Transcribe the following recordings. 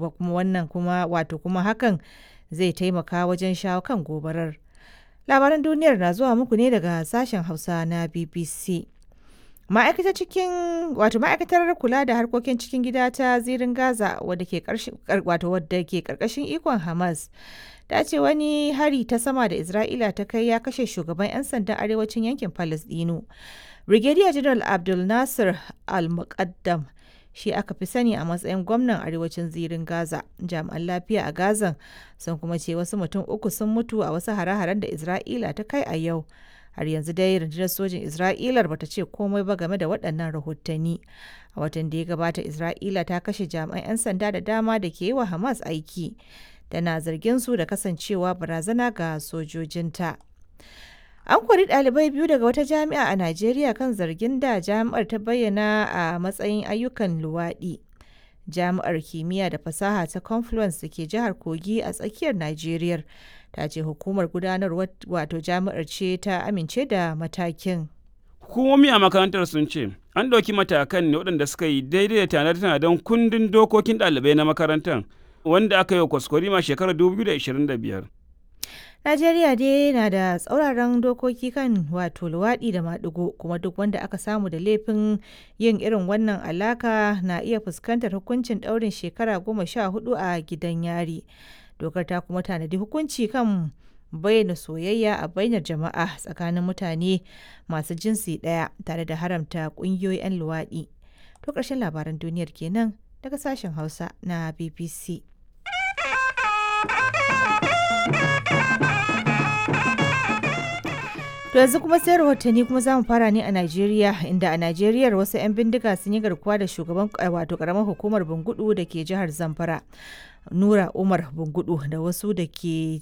Kuma wannan kuma wato kuma hakan zai taimaka wajen shawo kan gobarar. Labaran duniyar na zuwa muku ne daga sashen Hausa na BBC. Ma'aikatar cikin wato ma'aikatar kula da harkokin cikin gida ta zirin Gaza wadda ke wato wadda ke karkashin ikon Hamas ta ce wani hari ta sama da Isra'ila ta kai ya kashe shugaban 'yan sandan arewacin yankin Palestino. Brigadier General Abdul Nasir Al-Muqaddam shi aka fi sani a matsayin gwamnan arewacin zirin Gaza. Jami'an lafiya a Gazan sun kuma ce wasu mutum uku sun mutu a wasu hare-haren da Isra'ila ta kai a yau. Har yanzu dai rundunar sojin Isra'ilar bata ce komai ba game da waɗannan rahotanni. A watan da ya gabata, Isra'ila ta kashe jami'an 'yan sanda da dama da ke yi wa Hamas aiki. Tana zargin su da kasancewa barazana ga sojojinta. An kori ɗalibai biyu daga wata jami'a a Najeriya kan zargin da jami'ar ta bayyana a matsayin ayyukan luwaɗi. Jami'ar Kimiyya da Fasaha ta Confluence da ke jihar Kogi a tsakiyar Najeriya ta ce hukumar gudanarwar wato jami'ar ce ta amince da matakin. Hukumomi a makarantar sun ce an ɗauki matakan ne waɗanda suka yi daidai da tanade-tanaden kundin dokokin ɗalibai na makarantar wanda aka yi wa kwaskwarima shekarar 2025. Najeriya dai na da tsauraran dokoki kan wato luwaɗi da maɗigo, kuma duk wanda aka samu da laifin yin irin wannan alaka na iya fuskantar hukuncin ɗaurin shekara 14 a gidan yari. Dokar ta kuma tanadi hukunci kan bayyana soyayya a bainar jama'a tsakanin mutane masu jinsi ɗaya tare da haramta ƙungiyoyin 'yan luwaɗi. To ƙarshen labaran duniyar kenan daga sashen Hausa na BBC. To yanzu kuma sai rahotanni, kuma za mu fara ne a Najeriya, inda a Najeriya wasu 'yan bindiga sun yi garkuwa da shugaban wato karamar hukumar Bungudu da ke jihar Zamfara, Nura Umar Bungudu, da wasu da ke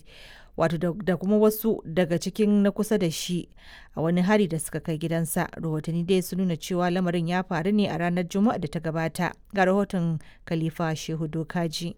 wato da kuma wasu daga cikin na kusa da shi a wani hari da suka kai gidansa. Rahotanni dai sun nuna cewa lamarin ya faru ne a ranar Juma'a da ta gabata. Ga rahoton Khalifa Shehu Dokaji.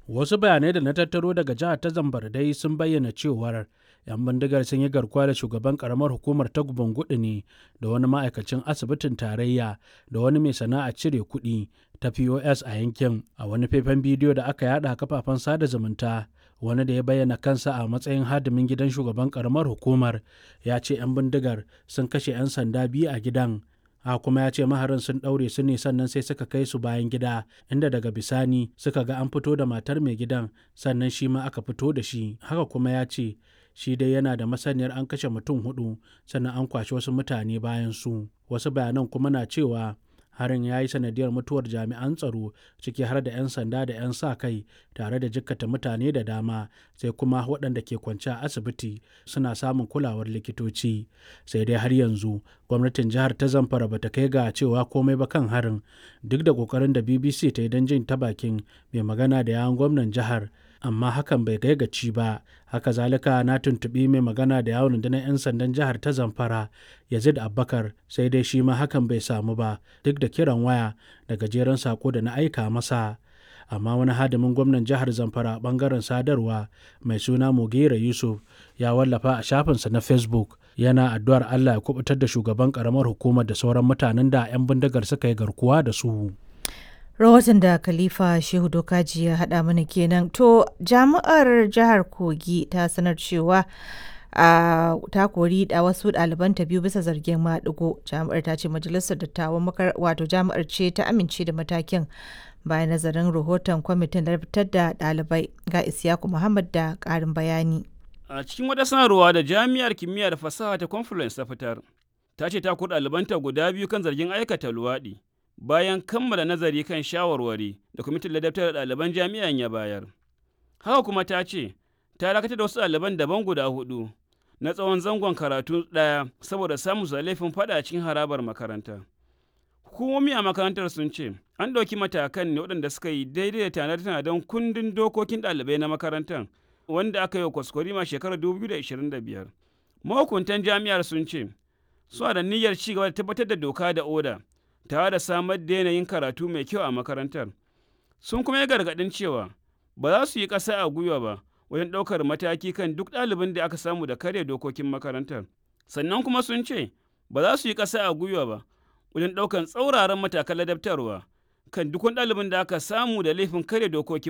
Wasu bayanai da na tattaro daga jihar ta Zamfara dai sun bayyana cewar 'yan bindigar sun yi garkuwa da shugaban karamar hukumar ta Bungudu ne da wani ma'aikacin asibitin tarayya da wani mai sana'a cire kuɗi ta POS a yankin. A wani faifan bidiyo da aka yada a kafafen sada zumunta, wani da ya bayyana kansa a matsayin hadimin gidan shugaban karamar hukumar ya ce 'yan bindigar sun kashe 'yan sanda biyu a gidan. A kuma ya ce maharin sun ɗaure su ne, sannan sai suka kai su bayan gida, inda daga bisani suka ga an fito da matar mai gidan, sannan shi ma aka fito da shi. Haka kuma ya ce shi dai yana da masaniyar an kashe mutum hudu, sannan an kwashe wasu mutane bayan su. Wasu bayanan kuma na cewa harin ya yi sanadiyar mutuwar jami'an tsaro, ciki har da 'yan sanda da 'yan sa kai, tare da jikkata mutane da dama, sai kuma waɗanda ke kwance a asibiti suna samun kulawar likitoci. Sai dai har yanzu gwamnatin jihar ta Zamfara ba ta kai ga cewa komai ba kan harin, duk da ƙoƙarin da BBC ta yi don jin ta bakin mai magana da yawun gwamnan jihar, amma hakan bai kai gaci ba. Haka zalika na tuntuɓi mai magana da yawon rundunar 'yan sandan jihar ta Zamfara, Yazid Abubakar, sai dai shi ma hakan bai samu ba, duk da kiran waya da gajeren sako da na aika masa. Amma wani hadimin gwamnan jihar Zamfara bangaren sadarwa mai suna Mugera Yusuf ya wallafa a shafinsa na Facebook yana addu'ar Allah ya kubutar da shugaban karamar hukumar da sauran mutanen da 'yan bindigar suka yi garkuwa da su. Rahoton da Khalifa Shehu Dokaji ya haɗa mana kenan. To, jami'ar jihar Kogi ta sanar cewa a ta kori da wasu ɗalibanta biyu bisa zargin maɗigo. Jami'ar ta ce majalisar dattawan makar wato jami'ar ce ta amince da matakin bayan nazarin rahoton kwamitin da fitar da ɗalibai. Ga Isiyaku Muhammad da ƙarin bayani. A cikin wata sanarwa da Jami'ar Kimiyya da Fasaha ta Confluence ta fitar, ta ce ta kori ɗalibanta guda biyu kan zargin aikata luwaɗi, bayan kammala nazari kan shawarwari da kwamitin ladabtar da ɗaliban jami'an ya bayar. Haka kuma ta ce, ta dakatar da wasu ɗaliban daban guda hudu na tsawon zangon karatu ɗaya saboda samun su da laifin faɗa cikin harabar makaranta. Hukumomi a makarantar sun ce, an ɗauki matakan ne waɗanda suka yi daidai da tanade-tanaden kundin dokokin ɗalibai na makarantar wanda aka yi wa kwaskwarima shekarar 2025. Mahukuntan jami'ar sun ce, suna da niyyar ci gaba da tabbatar da doka da oda tare da samar da yanayin karatu mai kyau a makarantar. Sun kuma yi gargaɗin cewa ba za su yi ƙasa a gwiwa ba wajen ɗaukar mataki kan duk ɗalibin da aka samu da karya dokokin makarantar. Sannan kuma sun ce ba za su yi ƙasa a gwiwa ba wajen ɗaukar tsauraran matakan ladabtarwa kan duk wani ɗalibin da aka samu da laifin karya dokokin